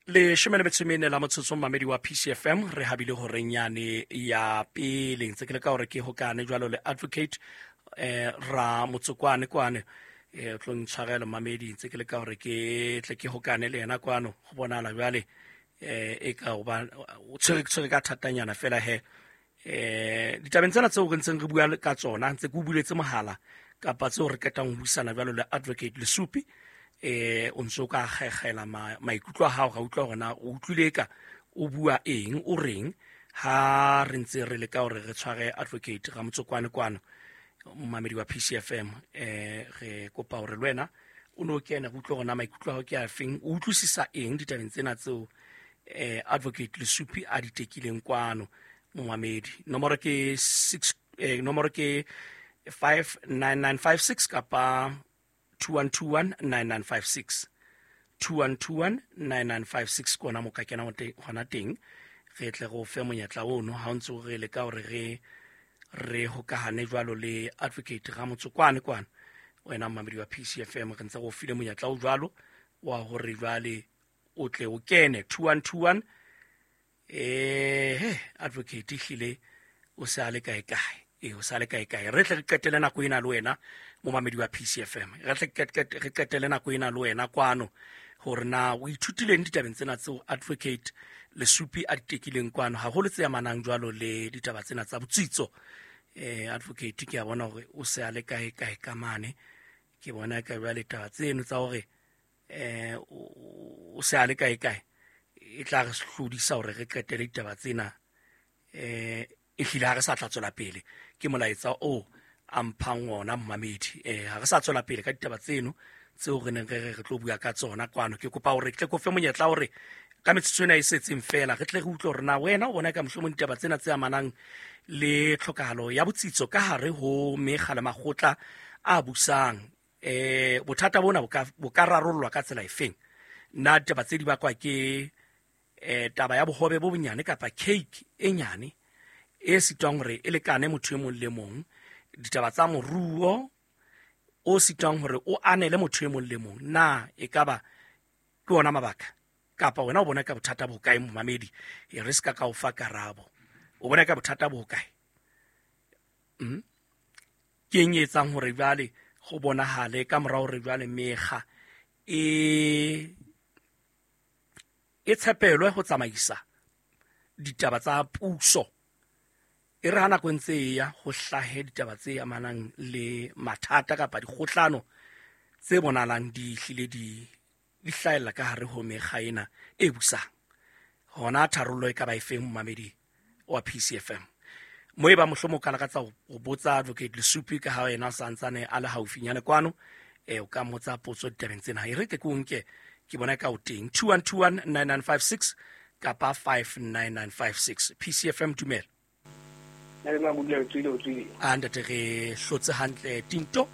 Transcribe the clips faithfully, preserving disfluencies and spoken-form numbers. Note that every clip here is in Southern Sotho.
Leshome le metso e mene la motsotso, mamedi wa P C F M, re habile horeng yane ya pele. Ntse ke le ka hore ke hokane jwalo le advocate eh ra motsokwane kwane. eh o tlo ntshwarela, mamedi, ntse ke le ka hore ke tle ke hokane le yena kwano. Go bonala jwale eh e ka hoba o tshwere tshwere ka thatanyana fela he. eh ditabeng tsena tseo re ntseng re bua ka tsona, ntse ke o buletse mohala kapa tseo re qetang ho buisana jwalo le advocate Lesupi, eh o ntso ka kgekgela maikutlo a hao, ga utlwa hore na o utlwile ka o bua eng, o reng. Ha re ntse re leka hore re tshware advocate Ramotsokwane kwano, momamedi wa P C F M, eh re kopa hore le wena o no kene, re utlwe hore na maikutlo a hao ke a feng, o utlwisisa eng ditabeng tsena tseo eh advocate Lesupi a di tekileng kwano. Momamedi, nomoro ke six, eh, nomoro ke five nine nine five six kapa two one two one nine nine five six, two one two one nine nine five six kona mo ka kena hona teng. Re tle go fe monyetla ono ha o ntse re leka hore re re hokahane jwalo le advocate Ramotsokwane kwana. Wena mmamedi wa P C F M, re ntse go file monyetla o jwalo wa hore jwale o tle o kene two one two one. eh advocate ehlile o se a le kae kae? E o sa le kae kae? Re tle re qetele nako ena le wena, momamedi wa P C F M, re tle re qetele nako ena le wena kwano hore na o ithutileng ditabeng tsena tseo advocate Lesupi a di tekileng kwano, haholo tse amanang jwalo le ditaba tsena tsa botsitso. eh advocate ke a bona hore o se a le kae kae ka mane. Ke bona ka jwale taba tseno tsa hore eh o se a le kae kae e tla re hlodisa hore re qetele ditaba tsena. eh ehlile ha re sa tla tswela pele ke molaetsa o a mphang ona, mmamedi. eh ha re sa tswela pele ka ditaba tseno tseo re neng re re re tlo bua ka tsona kwano. Ke kopa hore ke tle ko fe monyetla hore ka metsotso ena e setseng fela re tle re utlwe hore na wena o bona ka mohlomong ditaba tsena tse amanang le tlhokahalo ya botsitso ka hare ho mekga le makgotla a busang, eh bothata bona bo ka bo ka rarollwa ka tsela efeng? Na ditaba tse di bakwa ke eh taba ya bohobe bo bonyane kapa cake e nyane e sitwang hore e lekane motho e mong le mong, ditaba tsa moruo o sitwang hore o anele motho e mong le mong, na e kaba ke ona mabaka, kapa wena o bona ka bothata bo kae? Momamedi, e re se ka ka o fa karabo, o bona ka bothata bo kae? mm? Ke eng e etsang hore jwale go bonahale ka mora hore jwale mekga e e tshepelwe ho tsamaisa ditaba tsa puso, e re ha nako e ntse e ya ho hlahe ditaba tse amanang le mathata kapa dikgohlano tse bonahalang di hlile di di hlahella ka hare ho mekga ena e busang? Hona tharollo e ka ba efeng, momamedi wa P C F M? Mo e ba mohlomong o ka lakatsa ho botsa advocate Lesupi, ka ha yena a santsane a le haufinyane kwano, eh o ka mmotsa potso ditabeng tsena. E re ke ke o nke, ke bona ka o teng. two one two one nine nine five six kapa five nine nine five six. P C F M, dumela. Nna Mabudula, o tswile, o tswile. A ntate, re hlotse hantle, Tinto.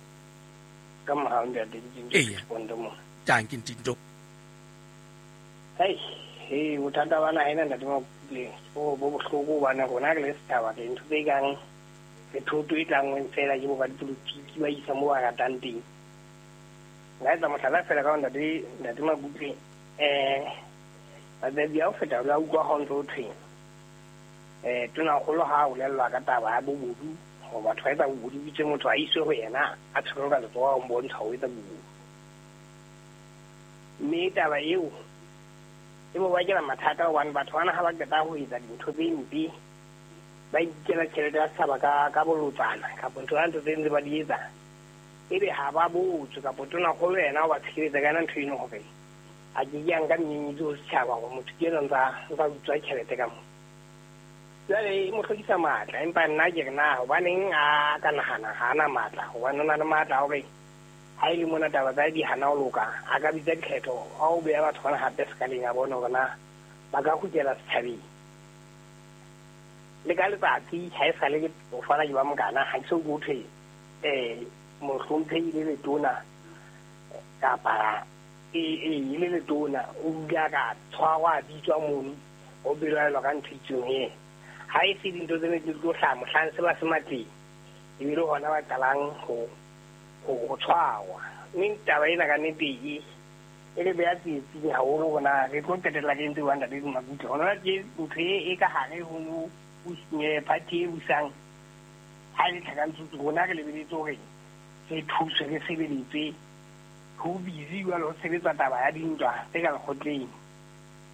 Ka mohau, ntate, ke Eya. Ponto mo. Tanki, Ntinto. Hei, he bothata ba naha ena, ntate Mabudule, bo bo bohloko hobane rona re le setjhaba re ntho tse kang re thoto e tlangweng fela ke bo ba dipolotiki ba isa mo ba ratang teng. Nka etsa mohlala fela ka ho ntate ntate Mabudule, eh matsatsi a ho feta la utlwa ha o ntso ho thweng eh tonakgolo ha a bolellwa ka taba ya bobodu, hore batho ba etsa bobodu, bitse motho a iswe ho yena a tshwerwe ka letsoho, a mbontsha ho etsa bobodu. Mme taba eo e mo bakela mathata hobane batho bana ha ba qeta ho etsa dintho tse mpe, ba inkela tjhelete ya setjhaba ka ka bolotsana kapa ntho tsa ntho tse ntse ba di etsa, ebe ha ba botswe kapa tonakgolo yena o ba tshireletsa ka yona ntho eno hore a ke ke a nka menyenyetsi ho setjhaba hore motho ke enwa ntsa ntsa utswa tjhelete ka moo. Jwale e mo hlokisa matla, empa nna ke re na hobaneng a ka nahana ha ana matla, hobane o na le matla a hore ha e le mona taba tsa di hana ho loka, a ka bitsa dikgetho a o beha batho bana hape sekaleng, a bone hore na ba ka kgutlela setjhabeng. Le ka letsatsi ha e sale ke o fana ke ba mokana, ha ke so utlwe ho thwe um mohlomphehi le letona kapa e e le letona o ile a ka tshwarwa, a bitswa mono ho belaelwa ka ntho itseng e ha e se dintho tsene di tlo hlaha mohlang se ba se matleng, ebile hona ba qalang ho ho ho tshwarwa. Mme taba ena ka nnete e E le beya tsietsing haholo hore re tlo qetella re entse jwang Ntate Makutle. Hona tje ntho e ka hare ho party e busang ha e le tlhakantsutsu, rona re lebeletse hore re thuswe re sebeletse. Ho busy jwale ho sebetsa taba ya dintwa tse ka lekgotleng.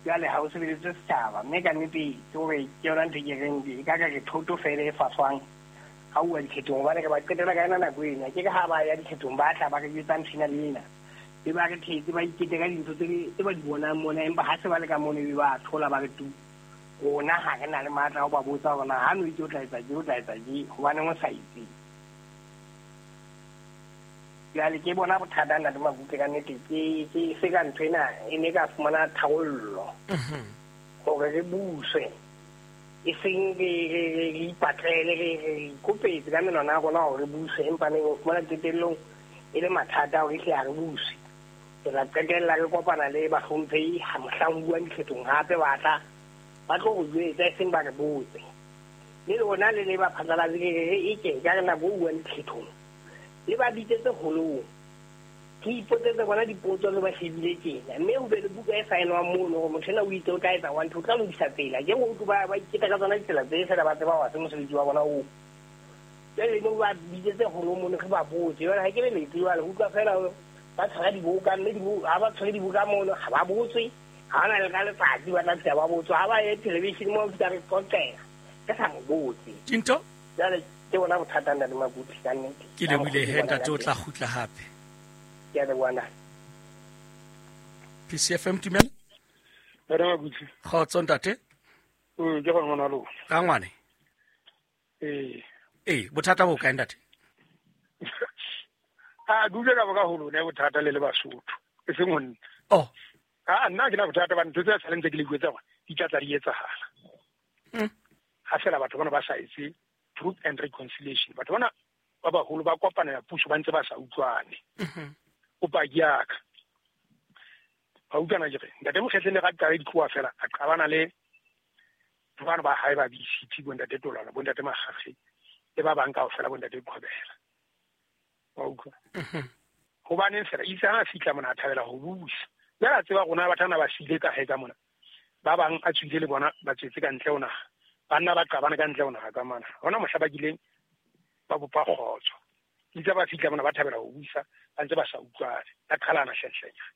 Jwale ha ho sebeletse setjhaba, mme ka nnete ke hore ke yona ntho e ke reng e ka ka re thoto fela e faswang ha uwa dikhethong, hobane re ba qetela ka yona nako ena. Ke ka ha ba ya dikhethong ba tla ba re jwetsa ntho ena le ena, be ba re thetse ba ikete ka dintho tse ba di bonang mona, empa ha se ba le ka mono ebe ba thola ba re tu. Rona ha re na le matla ho ba botsa hore na ha no itse o tla etsa tje, o tla etsa tje, hobaneng o sa etse. Jwale ke bona bothata Ntate Makutle ka nnete, ke ke se ka ntho ena e ne ka fumana tharollo hore re buswe, e seng re re ipatlele re re ikopetse ka menwana ya rona hore re buswe, empa neng o fumana qetellong e le mathata hore ehlile ha re buswe. Re tla qetella re kopana le bahlomphehi ha mohlang ho buang dikhethong hape ba tla ba tlo re jwetsa, e seng ba re botse. Le lona le le ba phatlalatse re re e ke ka re nako ho buang dikhethong le ba bitsetse holong, ke ipotsetse bona dipotso le ba shebile tjena, mme ho be le buka e saenwang mono hore motho ena o itse o tla etsa one two, o tla lokisa tsela. Ke go utlwe ba ba iketa ka tsona ditsela tse fela ba tseba hore ha se mosebetsi wa bona oo. Jwale ne ba bitsetse holong mono re ba botse. Jwale ha ke le letse jwale ho utlwa fela ba tshwara dibuka, mme ha ba tshwere dibuka mono ha ba botswe, ha ba na le ka letsatsi ba tla fihla ba botswa, ha ba ye television moo fihla re qoqela ke sa mo botse. Tinto? Jwale ke bona bothata Ntate Makutle ka nnete. Ke lebohile he ntate, o tla kgutla hape. Ke a leboha ntate. P C F M tumela? Ntate Makutle. Kgotso ntate. Ee, ke gona ngwana lona. Rangwane. Ee. Ee, bothata bo kae ntate? A dule ka boka ho lona bothata le le Basotho. E seng ho nna. Oh. A nna ke na bothata ba ntho tse sa lentse ke le buetsa hore di tla tla di etsahala. Mm. Ha fela batho bana ba sa etse truth and reconciliation. Batho bana ba baholo ba kopana ya puso ba ntse ba sa utlwane. Mhm. O paki ya ka. Ba utlwana ke re ntate Mokhetleng le ga qale ditloa fela a qabana le bana ba hae ba B C T bo ntate Tolwana bo ntate Makgakge le ba bang kaofela bo ntate Qhobela. Wa utlwa? Mhm. Hobaneng fela itse ha fihla mona a thabela ho busa. Jwale a tseba rona batho bana ba siile ka hae ka mona. Ba bang a tswile le bona ba tswetse ka ntle ho naha. Banna ba qabana ka ntle ho naha ka mana. Hona mohla ba kileng ba bopa kgotso. Itse ba fihla mona ba thabela ho busa, ba ntse ba sa utlwane. Ba qhalana hlenhlenyana.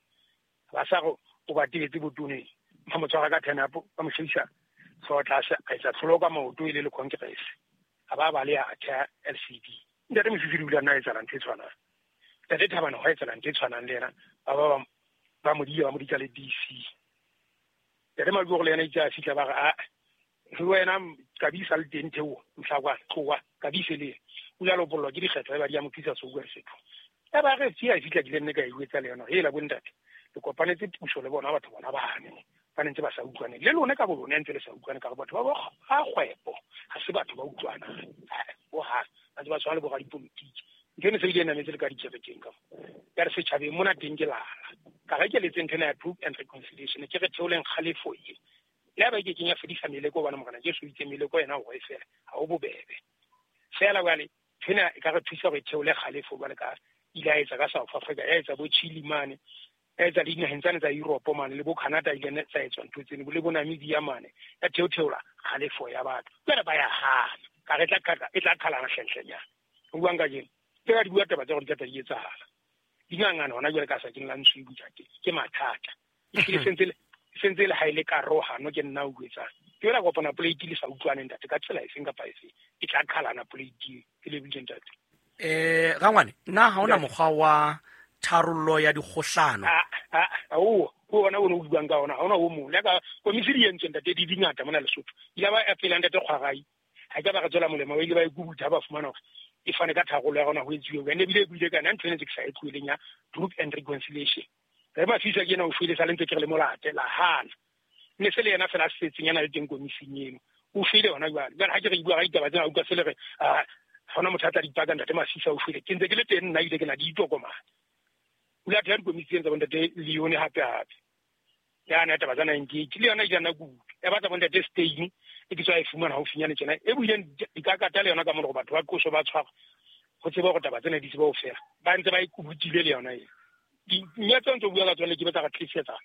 Ba sa go o ba tebetse botoneng. Ba mo tshwara ka ten up, ba mo shebisa hlooho tlase, a etsa tlholo ka maoto e le le Congress. A ba ba le a theha L C D. Ntate Mosisili o ile a nna a etsahala ntho e tshwanang. Ntate Thabane ho etsahala ntho e tshwanang le yena. Ba ba ba mo diya ba mo ditsa le D C. Ntate Maduo le yena itse a fihla ba re a le wena kabisa le teng theo mohla kwa tloha kabise le o ile a lopollwa ke dikgetho ba di ya mo tlisa Sokuwa Lesotho. Ya ba re tsia fihla ke le nne ka e etsa le yona. Hela bo ntate le kopanetse puso le bona batho bona bane ba ntse ba sa utlwane le lona ka bo lona ntse le sa utlwane ka batho ba ba kgwebo ha se batho ba utlwanang bo ha ba ntse ba tshwana le bo radipolotiki. Ntho eno se ile nametse le ka dikerekeng ka mo ya re setjhabeng mona teng ke lala ka re ke letse ntho ena ya truth and reconciliation ke re theoleng kgalefo e le ha ba ke kenya fedisa meleko hobane morena Jesu o itse meleko yena hore e fela ha o bobebe fela jwale ntho ena e ka re thusa hore e theole kgalefo jwale ka ile a etsa ka South Africa ya etsa bo Chile mane ya etsa le dinaheng tsane tsa Europe mane le bo Canada ile tsa etswa ntho tseno le bo Namibia mane ya theotheola kgalefo ya batho jwale ba ya hana ka re tla e tla qhalana hlenhlenyana ho buang kajeno ke ka di bua taba tsa gore di tla di etsahala dingangana hona jwale ka sa keng la ntshwi bujate ke mathata ehlile sentse le sentse le ha ile karohano ke nna o buetsang ke yona kopana plate le sa utlwane ntate ka tsela efeng kapa efe e tla qhalana plate ke le bile ntate. Eh Rangwane nna ha ona mokgwa wa tharollo ya dikgohlano a a o o ona o no buang ka ona ha ona o mong le ka komisi di entswe ntate di dingata mona Lesotho ile ba pela ntate Kgwarai ha ke ba re tswela molemo ba ile ba ikubuta ba fumana hore e fane ka tharollo ya rona ho etsuwe ene ebile e buile ka nna ntho ena tse ke sa e tlohileng ya truth and reconciliation. Re ba fisa ke ena o shwele sa le ntse ke re le molate la hana ne se le yena fela setseng yana le teng komising eno o shwele hona jwale jwale ha ke re bua ka ditaba tsena utlwa se le re a hona motho a tla dipaka ntate Masisa o shwele ke ntse ke le teng nna ile ke na di itokomane o la theha dikomising tsa bontate Leone hape hape ya na taba tsa ninety-eight le yona e jana kudu ya batla bontate Stein e ke tswa e fumana haufinyane tjena e buileng dikakata le yona ka mona batho ba qoso ba tshwara ho tseba hore taba tsena di tseba ho fela ba ntse ba ikubutile le yona e Mme tse ntse bua ka tsone ke batla re tlisetsa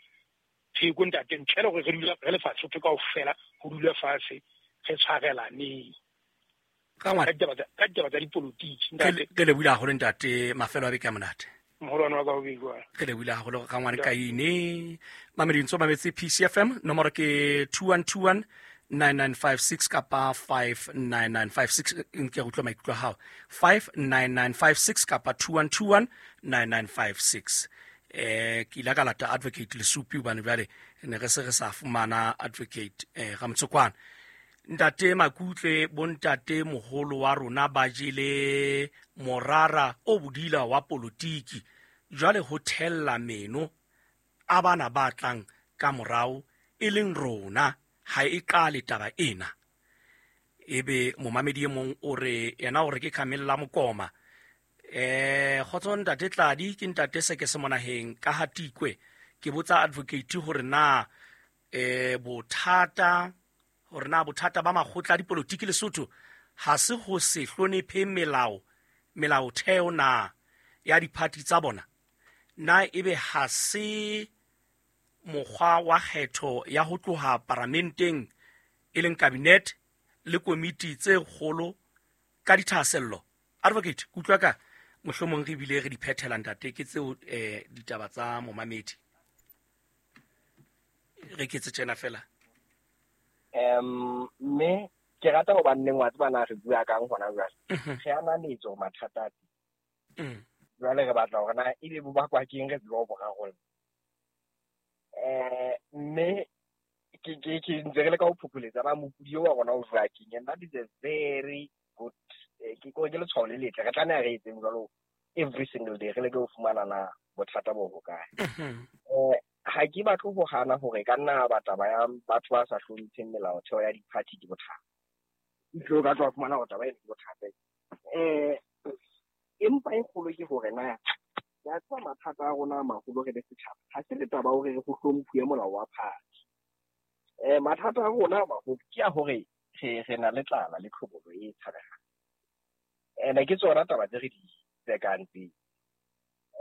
pheko ntate ntle le hore re dula re le fatshe kaofela ho dula fatshe re tshwarelaneng. Ka ngwana ka ditaba tsa dipolotiki ntate. Ke lebohile haholo ntate, mafelo a beke a monate. Moholwane wa ka ho beiwa. Re lebohile haholo ka ngwana ka ine. Mamedi ntso mametse P C F M nomoro ke two one two one nine nine five six kapa five nine nine five six. Nke re utlwe maikutlo a hao. five nine nine five six kapa two one two one nine nine five six. Eh ke ile ka lata advocate Lesupi hobane jwale ne re se re sa fumana advocate eh Ramtsokwana. Ntate Makutle bontate moholo wa rona ba jele morara o bodila wa politiki jwale ho thella meno a bana ba tlang ka morao e leng rona ha e qale taba ena. Ebe momamedi e mong o re yena o re ke Khamella Mokoma. Eh kgotso ntate Tladi ke ntate se ke se monaheng ka hatikwe ke botsa advocate hore na eh bothata hore na bothata ba makgotla a dipolotiki Lesotho ha se ho se hlonephe melao melaotheo na ya diphathi tsa bona na ebe ha se mokgwa wa kgetho ya ho tloha paramenteng e leng cabinet le komiti tse kgolo ka dithahasello. Advocate kutlwa ka mohlomong re bile re di phethela ntate ke tseo eh ditaba tsa momamedi re ke tse tjena fela. Um mme ke rata ho banneng wa tseba na re bua kang hona jwale. Re ananetse mathata a teng. Jwale re batla hore na ebe bo bakwa keng re tsebe ho bo rarolla. Eh mme ke ke ke ntse re le ka ho phopholetsa ba mokudi wa rona o jwa keng, and that is a very good ke ko ke letshwao le letle re tlameha re etseng jwalo every single day re leke ho fumana na bothata bo hokae. Eh ha ke batle ho hana hore ka nna batla ba ya batho ba sa hlompheng melaotheo ya di-party ke bothata. Itlo ka tloha fumana hore taba ena ke bothata. Eh empa e kgolo ke hore na ya tswa mathata a rona a maholo re le setjhaba ha se le taba hore re ho hlomphuwe molao wa party. Eh mathata a rona a maholo ke a hore re re na le tlala le tlhobolo e tshabehang. Ene ke tsona taba tse re di tsekang tse.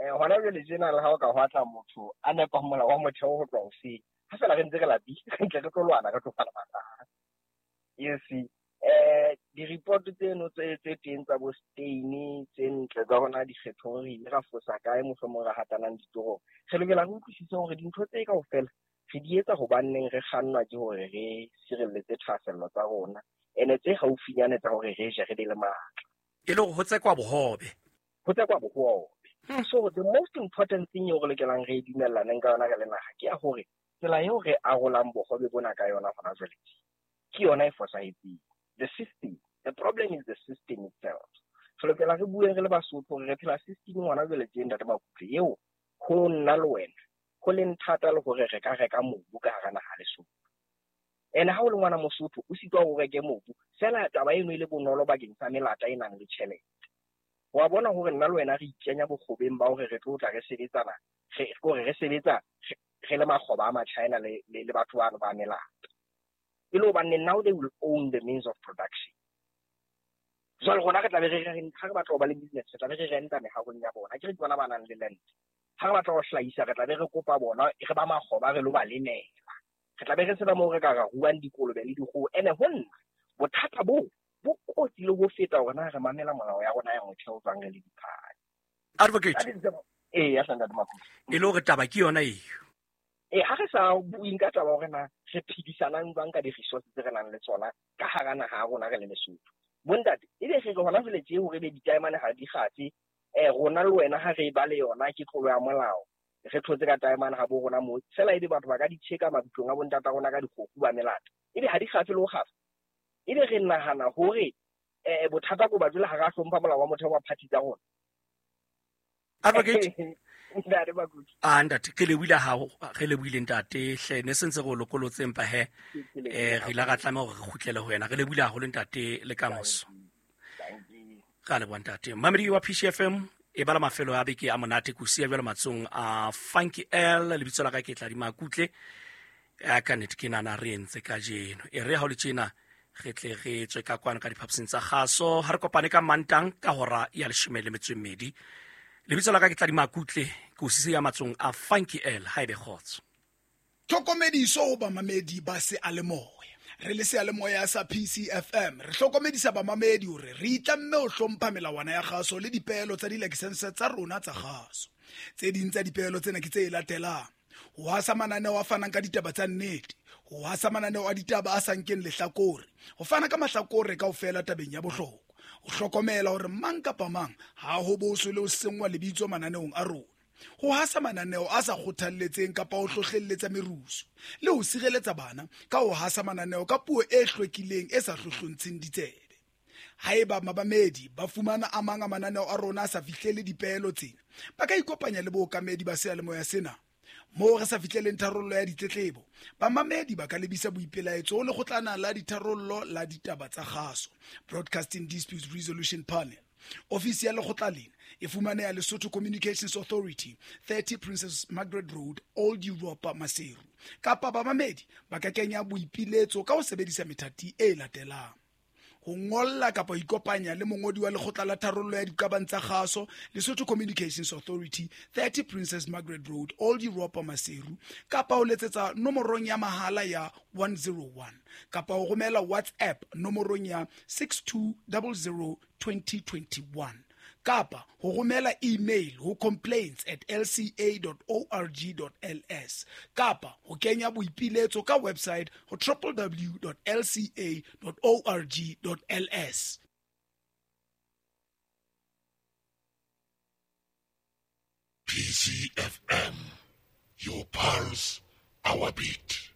Eh hona jwale tjena le ha o ka ho atla motho a nepa molao wa motheo ho tloha hoseng ha fela re ntse re lapile re ntle re tlo lwana re tlo fana mathata. You see eh di-report tseno tse tse teng tsa bo Stein tse ntle tsa rona dikgethong re ile ra fosa kae mohlomong ra hatanang ditorong. Re lokela re utlwisise hore dintho tse kaofela re di etsa hobanneng re kgannwa ke hore re sireletse thahasello tsa rona ene tse haufinyane tsa hore re je re be le matla. E le hore ho tsekwa bohobe. Ho tsekwa bohobe. So the most important thing eo re lokelang re dumellaneng ka yona re le naha ke ya hore tsela eo re arolang bohobe bona ka yona hona jwale ke yona e fosahetseng. The system, the problem is the system itself. Re lokela re bue re le Basotho hore re phela system hona jwale tje ntate Makutle eo ho nna le wena ho leng thata le hore re ka reka mobu ka hara naha Lesotho. Ene ha o le ngwana Mosotho o sitwa ho reke mobu fela taba eno e le bonolo bakeng sa melata e nang le tjhelete. Wa bona hore nna le wena re ikenya bokgobeng ba hore re tlo tla re sebetsana re hore re sebetsa re le makgoba a ma-China le le batho bano ba melata. E le hobane now they will own the means of production. Jwale rona re tla be re re ha re batla ho ba le business re tla be re renta mehahong ya bona. Ke re ke bona ba nang le land. Ha re batla ho hlahisa re tla be re kopa bona re ba makgoba re lo ba lemela. Re tla be re sena moo re ka ra ruang dikolobe le dikgoho. Ene ho nna bothata bo bo kotsi le ho feta hore na re mamela molao ya rona ya motheo jwang re le diphadi. Advocate. Eh ya ntate Makutle. E le hore taba ke yona eo. Eh ha re sa bueng ka taba hore na re phedisanang jwang ka di-resources tse re nang le tsona ka hara naha ya rona re le Lesotho. Bontate ebe re re hona jwale tje hore be ditaemane ha di kgatse eh rona le wena ha re ba le yona ke tlolo ya molao. Re thotse ka taemane ha bo rona mo fela ebe batho ba ka di tjheka mabitlong a bontata rona ka dikgoku ba melata. Ebe ha di kgatse le ho kgafa. Ebe re nahana hore eh bothata ko ba jwale ha ra hlompha molao wa motheo wa party tsa rona. Advocate. Ntate Makutle. Ah ntate ke lebohile ha re lebohile ntate hle ne sentse re o lokolotse empa he eh re ile ra tlameha hore re kgutlele ho wena. Re lebohile haholo ntate le kamoso. Ka leboha ntate. Mamedi wa P C F M e bala mafelo a beke a monate ko siya jwale matsong a Funky L lebitso la ka ke Tladi Makutle. A ka nnete ke nana re entse kajeno. E re ha o le tjena re tle re tswe ka kwano ka diphapusing tsa kgaso ha re kopane ka Mantang ka hora ya leshome le metso e mmedi. Lebitso la ka ke Tladima Kutle, ke o sisiya matsong a Funky L. Ha ebe kgotso. Tlhokomediso ho bamamedi ba seyalemoya. Re le seyalemoya sa P C F M re hlokomedisa bamamedi hore re itlamme ho hlompha melawana ya kgaso le dipeelo tsa dilakesense tsa rona tsa kgaso. Tse ding tsa dipeelo tsena ke tse latelang: ho hasa mananeo a fanang ka ditaba tsa nnete, ho hasa mananeo a ditaba a sa nkeng lehlakore, ho fana ka mahlakore kaofela tabeng ya bohlokwa, ho hlokomela hore mang kapa mang ha ho boswe le ho senngwa lebitso mananeong a rona, ho hasa mananeo a sa kgothalletseng kapa ho hlohlelletsa merusu, le ho sireletsa bana ka ho hasa mananeo ka puo e hlwekileng e sa hlohlontsheng ditsebe. Haeba mabamedi ba fumana a mang a mananeo a rona a sa fihlele dipeelo tsena, ba ka ikopanya le bookamedi ba seyalemoya sena. Moo re sa fihleleng tharollo ya ditletlebo, bamamedi ba ka lebisa boipelaetso ho lekgotlana la ditharollo la ditaba tsa kgaso, Broadcasting Disputes Resolution Panel. Ofisi ya lekgotla lena e fumaneha Lesotho Communications Authority, thirty Princess Margaret Road, Old Europa, Maseru. Kapa bamamedi ba ka kenya boipiletso ka ho sebedisa methati e latelang: ho ngolla kapa ho ikopanya le mongodi wa lekgotla la tharollo ya diqabang tsa kgaso, Lesotho Communications Authority, thirty Princess Margaret Road, Old Europa, Maseru, kapa ho letsetsa nomorong ya mahala ya one zero one, kapa ho romela WhatsApp nomorong ya six two zero zero twenty twenty-one, kapa ho romela email ho complaints at l c a dot org dot l s, kapa ho kenya boipiletso ka website ho w w w dot l c a dot org dot l s. P C F M, your pulse, our beat.